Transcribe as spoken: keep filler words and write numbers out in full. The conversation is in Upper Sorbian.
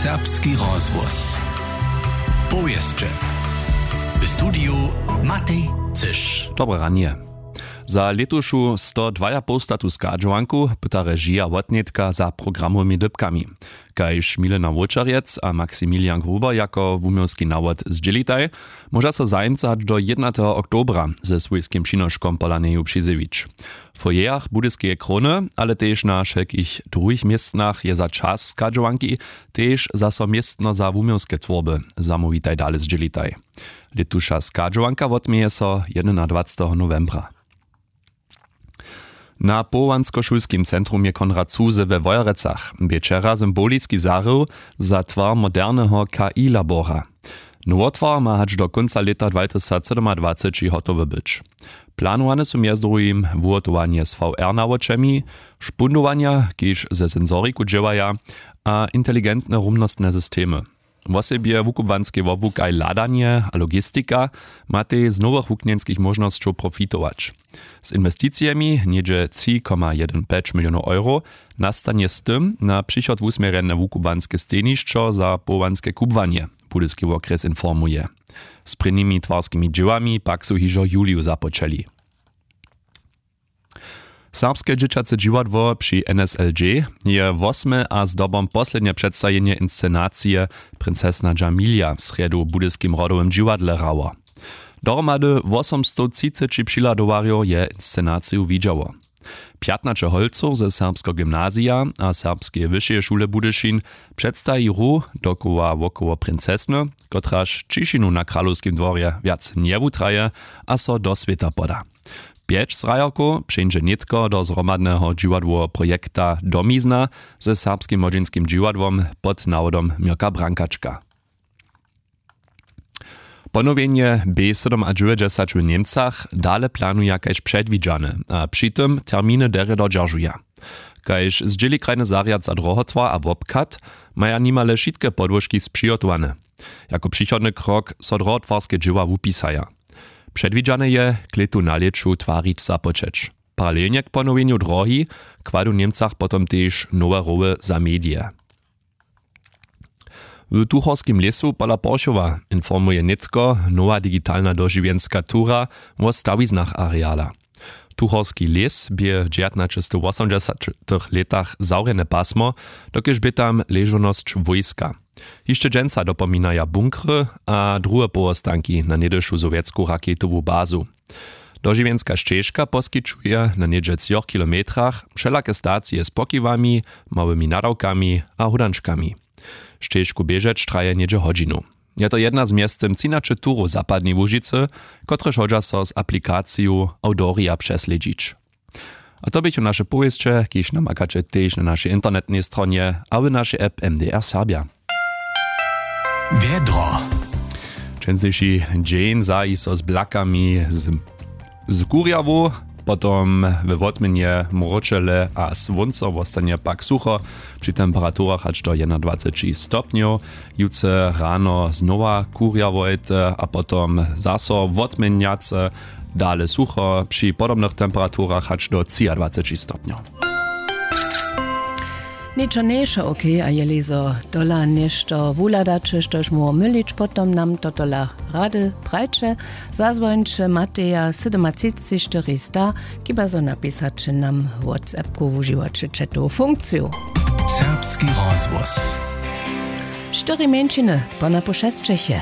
Serbski rozhłos. Powěsće. W studiju Matej Cyš. Dobre ranje. Za lětušu sto dwajapołstatu schadźowanku pyta režija wotnětka za programowymi dypkami. Kaž Milena Wóčerjec a Maximilian Gruber jako wuměłski nawod zdźělitaj, móža so zajimca hač do jědnateho oktobra ze swójskim přinoškom pola njeju přizjewić. W foyerach Budyskeje króny, ale tež na wšelkich druhich městnach je za čas schadźowanki tež zaso městno za wuměłske twórby. Zamołwitaj dale zdźělitaj. Lětuša schadźowanka wotměje so jedenadwaceteho nowembra. Na powołanskošulskim centrumje Konrad Zuse we Wojerecach bě wčera symboliski zahrył za twar moderneho K I labora. Nowotwar ma hač do kónca lěta dwatysacsydomadwaceći hotowy być. Planowane su mjez druhim wuhotowanje z V R nawočemi, špundowanja, kiž ze sensoriku dźěłaja, a inteligentne rumnostne systemy. Wosebje wukubłanskej wobłukaj hladanje a logistika matej z nowych wuknjenskich móžnosćow profitować. Z inwesticijemi něhdźe tři koma jedyn pjeć milionow euro nastanje z tym na přichod wusměrjene wukubłanske stejnišćo za powołanske kubłanje. Budyski wokrjes informuje. Z prěnimi twarskimi dźěłami pak su hižo w juliju započeli. Serbske dźěćace dźiwadło při N S L J je wosme a zdobom poslednje předstajenje inscenacije Princesna Džamilja w srjedu w budyskim rodowym dźiwadle hrało. Dohromady wosomstowtřiceći přihladowarjow je inscenaciju widźało. Pjatnaće holcow ze serbskeho gymnazija a serbskeje wyšeje šule budyšin předstaji hru dokoła wokoło princesny, kotraž ćišinu na kralowskim dworje wjac njewutraje a so do swěta poda. Pjeć zhrajerkow přeńdźe nětko do zhromadneho dźiwadłoweho projekta Domizna ze serbskim młodźinskim dźiwadłom pod nawodom Měrka Brankačka. Ponowjenje B sydomadźewjećdźesać w Němcach dale planuja kaž předwidźane a při tym terminy derje dodźeržuja. Kaž zdźěli krajny zarjad za drohotwar a wobchad, maja nimale wšitke podłožki spřihotowane. Jako přichodny krok so drohotwarske dźěła wupisaja. Předwidźane je, klětu na lěću twarić započeć. Paralelnje k ponowjenju drohi kładu w Němcach potom tež nowe roły za medije. W tuchorskim lěsu pola porchowa informuje nětko nowa digitalna dožiwjenska tura wo stawiznach areala. Tuchorski lěs bě w dźewjatnaćestowosomdźesatych lětach zawrjene pasmo, dokelž bě tam ležownosć wójska. Hišće dźensa dopominaja bunkry a druhe powostanki na něhdyšu sowjetsku raketowu bazu. Dožiwjenska šćežka poskićuje na něhdźe třoch kilometrach wšelake stacije z pokiwami, małymi nadawkami a hódančkami. Šćežku běžeć traje něhdźe hodźinu. Je to jedna z mjeztym třinaće turow zapadnej łužicy, kotrež hodźa so z aplikaciju Audoria přeslědźić. A to běchu naše powěsće, kiž namakaće tež na našej internetnej stronje a w našej app M D R Serbja. Wjedro. Dźensniši dźeń zahi so z blakami z, z kurjawu, potom we wotměnje mróčele a słónco wostanje pak sucho při temperaturach hač do jedenadwaceći stopnjow. Jutře rano znowa kurjawojte a potom zaso wotměnjace, dale sucho při podobnych temperaturach hač do třiadwaceći stopnjow. Něčo nješe okej, a jeli zo tola něšto wuhladaće, štož móhło mylić, potom nam to tola rady prajće. Zazwońće Mateja sydomatřiceći štyri sta, kiba zo napisaće nam WhatsAppku, wužiwaće će tu funkciju. Serbski rozhłos. Štyri mjeńšiny po napušesćeche.